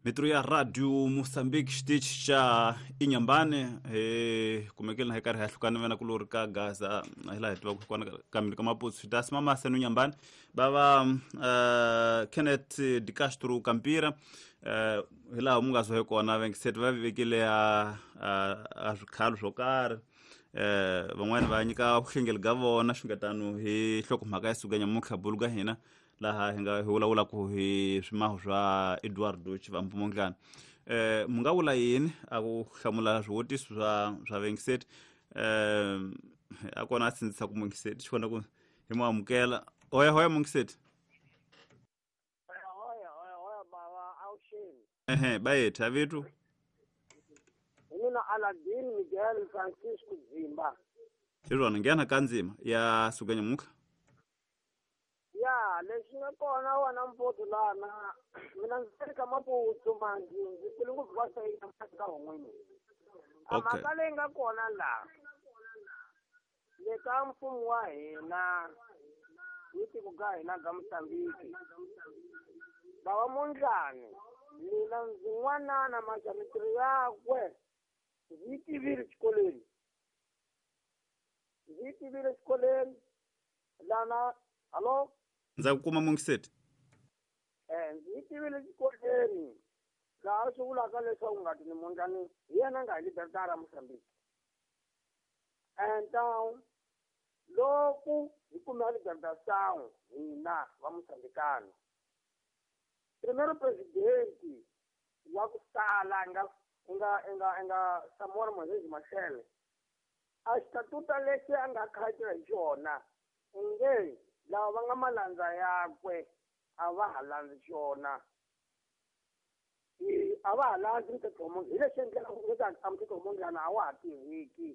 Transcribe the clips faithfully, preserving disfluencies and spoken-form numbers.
Mitro ya Radio Mozambique xitichi xa Inhambane hi kumekile na hi karhi hi hlukana vena kulori ka Gaza hi laha hi tivaka kona ka ka Maputo swi ta simamasa no Inhambane va va uh, Kenneth de Castro Campira uh, hi laha mu nga zwa hi kona vengiseti va vekile a a swikhalo swo karhi eh van'wani va nyika vuhlengeli ga vona xungetano hi nhlokomhaka ya suka nyamuntlha bulu ka hina laha hi nga hi vulavula ku hi swimaho swa Eduardo Chivambo Mondlane eh mu nga vula yini a ku hlamula swivutiso swa swa vengiseti eh a kona a sindzisa ku mungiseti xi kona ku hi mu amukela hoya hoya mungiseti hoya hoya hoya baba awusheni ehe bayethu avitu mina Aladin Miguel Francisco Zimba Irona ngena kanzima ya suka nyamuka ya leswi nga kona wena mpoto lana mina ndzi ri ka Maputo manji ndzi kule ngopfu va sayina ka hon'wini a mhaka leyi nga kona laha le ka mfumo wa hina ni tiko ka hina ga Mozambique bava Mondlane mina ndzi n'wanana maxa mintirho yakwe ndzi yi tivile xikolweni ndzi yi tivile xikolweni lana hallo ndza ku kuma mungiseti eh ndzi yi tivile xikolweni laha swi vulaka leswaku ngati ni Mondlane hi yena nga hi libertara Mozambique então loko hi kume libertação hina va Mozambicano primeiro presidente wa ku sala nga nga nga nga Samora Moisés Machel a xitatuta lexi a nga khatira hi xona nge lava va nga malandza yakwe a va ha landzi xona i a va ha landzi mthetho wa Mondlane hi lexi endlaka ku a mthetho wa Mondlane a wa ha tiveki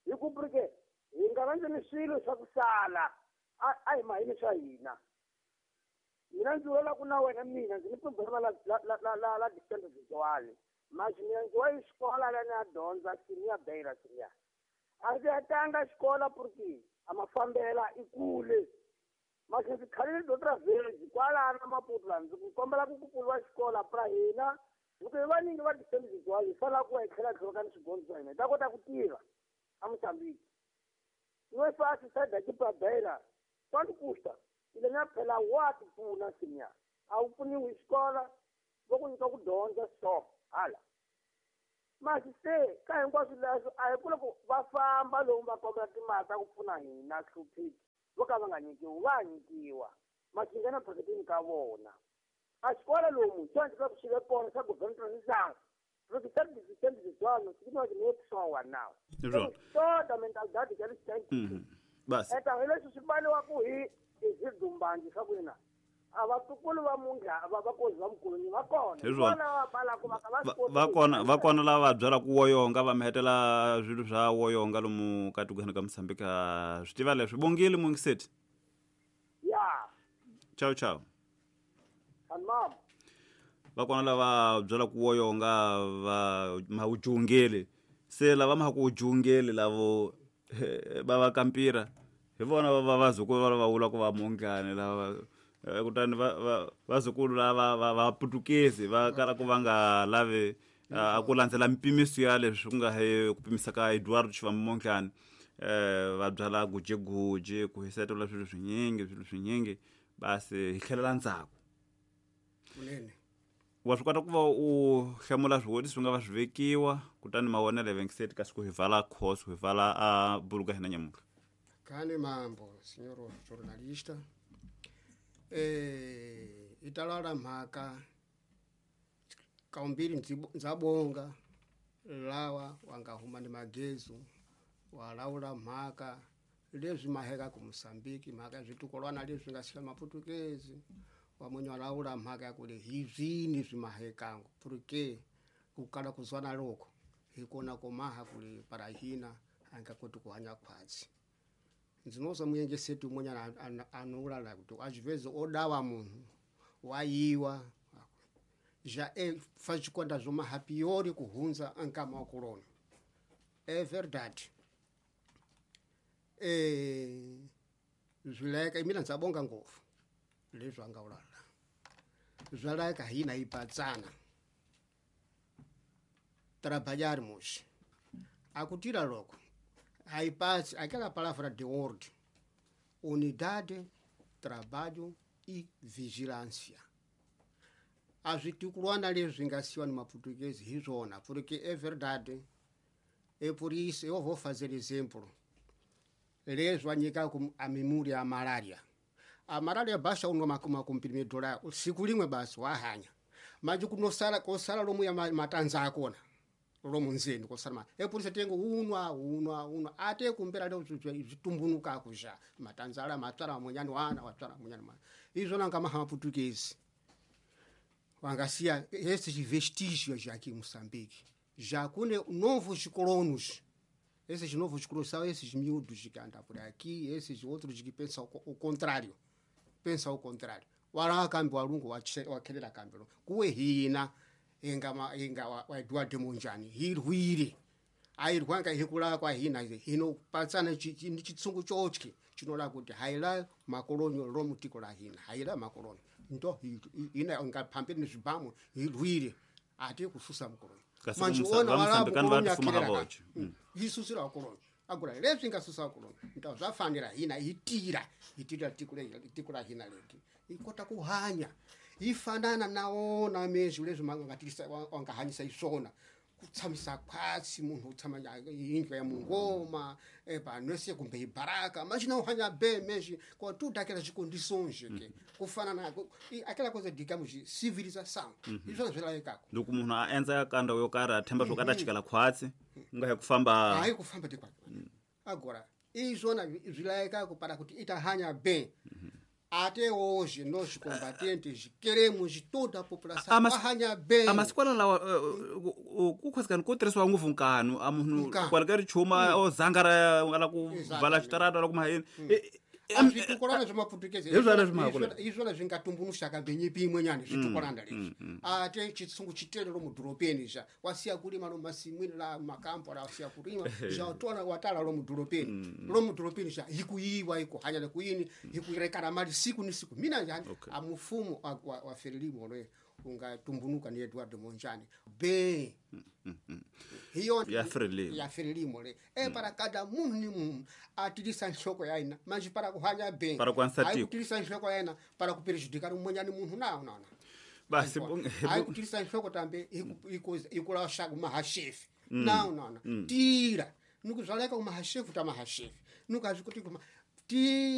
hi ku porque hi nga landzeni swilo swa ku sala a a hi mahini swa hina mina ndzi vula ku na wena mina ndzi ni problema la la la la la distance visual mas mina ndzi wa xikola la ni a dyondza senior beira senior a ndzi hetanga xikola porque a mafambela i kule mas ndzi khalile dotra village kwalana Maputo la ndzi ku kombela ku ku pfuriwa xikola pra hina loko hi vanyingi va distance visual hi fanela ku hi tlhela tlhelo ni swigondzo swa hina hi ta kota ku tirha a Mozambique no é fácil sair daqui pra Beira quanto custa ile na phela wa ti pfuna senior a wu pfuniwi hi xikola vo ku nyika ku dyondza so hala masi se ka hinkwaswo leswo a hi ku loko va famba lomu va kombela timali ta ku pfuna hina hlupheki vo ka va nga nyikiwi va nyikiwa masi nghena phaketini ka vona a xikola lomu xo endla ku xi ve kona xa government porque sabe distante visual significa que não é pessoa não toda a mentalidade que eles têm basi então eles se baliwa ku hi izidumbanji swa ku hina a vatukulu va Mondlane va vakozi va mkuluni va kona vona va balaka va va va kona va kona lava va byalaka woyonga va mihetela swilo swa woyonga lomu ka tikweni ka Mozambique swi tiva leswi bongile mungiseti ya ciao ciao tamam va kona lava byalaka woyonga va mawujungele se lava ma ku jungele lavo va va kampira hi vona va va vazukulu va va vula ku va Mondlane lava kutani va va vazukulu lava va va putukezi va kala ku va nga lavi a ku landzela mpimiso ya leswi ku nga he ku pimisa ka Eduardo Chivambo Mondlane eh va byala gujeguje ku hisetela swilo swinyingi swilo swinyingi basi hi tlhelela ndzhaku kunene wa swi kota ku va u hlamula swivutiso swi nga va swi vekiwa kutani mavonelo ya vengiseti kasi ku hi vala course hi vala a bulu ka hina nyamuntlha kani mambo senhor jornalista eh italala mhaka kaumbili ndzabonga lawa wangahuma ni magezu walaula mhaka leswi maheka ku Mozambique mhaka switukulwana leswi nga sika maputukezi wamwenye walaula mhaka ya kule hizini swi mahekango porque kukala kuzwana loko hikona komaha kule para hina anga koti kuhanya khwatsi nzinoza muyenge setu mwenye anula la kuti às vezes odawa munhu wayiwa já é faz conta zoma hapiori kuhunza ankama wakulona é verdade eh zwileka imina ndzabonga ngopfu leswi anga ulala Zwa hina ipatsana trabalharmos akutira logo haipatsi aquela palavra de ordem, unidade, trabalho e vigilância. A zvitukulwana leswi nga siwa ni maportuguês hi swona, porque é verdade. É por isso eu vou fazer exemplo. Leswi va nyikaka a memória a malária. A malária baixa unwa makuma comprimido lá, siku limwe basi wahanya. Mas kunosala kosala lomu ya matanza akona. Lomu nzeni kosala. Ma. É por isso tengo unwa unwa unwa ate kumbera leo zitumbunuka kuja. Matanza ala matwala munyani wana watwala munyani mwana. Izvo nanga maha português. Wangasia esses vestígios aqui em Moçambique. Já com novos colonos. Esses novos colonos são esses miúdos que andam por aqui, esses outros que pensam o contrário. Pensam o contrário. Warakambi walungu wakelela kambelo. Kuwe hina inga inga wa Eduardo Mondlane hirwire. Ayirwanga hikula kwa hina hino patsana chitsungu chotye chinola kuti haila makolonyo romutiko la hina haila makolonyo. Ndo ina ngaphambili nezvibhamu hirwire ati kususa mukolonyo. Manje ona wala mukolonyo akhelera yisusira kolonyo. Agora leswi ngasusa kolonyo. Ndo zvafanira hina itira itira tikule tikula hina leti. Ikota kuhanya ifanana naona mezwi leswi mangatirisa wangahanyisa isona. Kutsamisa kwatsi munhu utsama indlu ya mungoma eba nose kumbe ibaraka machina uhanya be meji kwa tudo aquelas condições que kufana na aquela coisa digamos de civilização izvo zvilaikako ndoku munhu a enza kanda yo kara themba zvokata chikala khwatsi ngahe kufamba hayi kufamba de kwatsi agora izvona zvilaikako para kuti itahanya bem. Até hoje, nós combatentes queremos toda a população arranhar bem. A masikwala lawa ku khwasikani ko tirhisiwa ngopfu nkanu a munhu kwala ri chuma o zangara ala ku vala xitarata ala ku mahayeni zvitukolana zvemaportuguese izvona zvingatumbunushaka mbenyipi imwe nyani zvitukolana lezvi ate chitsungu chitelero mudhoropeni zva wasiya kulima lo masimwini la makampo la wasiya kulima zvatora watala lo mudhoropeni lo mudhoropeni zva ikuyiwa ikuhanya kuyini ikurekana mali siku ni siku mina njani amufumo wa, wa Frelimo lo ungatumbunuka ni Eduardo Mondlane be hiyo ya Frelimo ya Frelimo le e para cada munhu ni munhu atirisa nhloko ya ina manje para kuhanya bem para kuansatiko atirisa nhloko ya ina para kuprejudicar umonyani munhu na na basi ayitirisa nhloko tambe ikula shaku mahashefi na na tira nukuzvaleka kumahashefu ta mahashefu nukazvikuti kuma tira.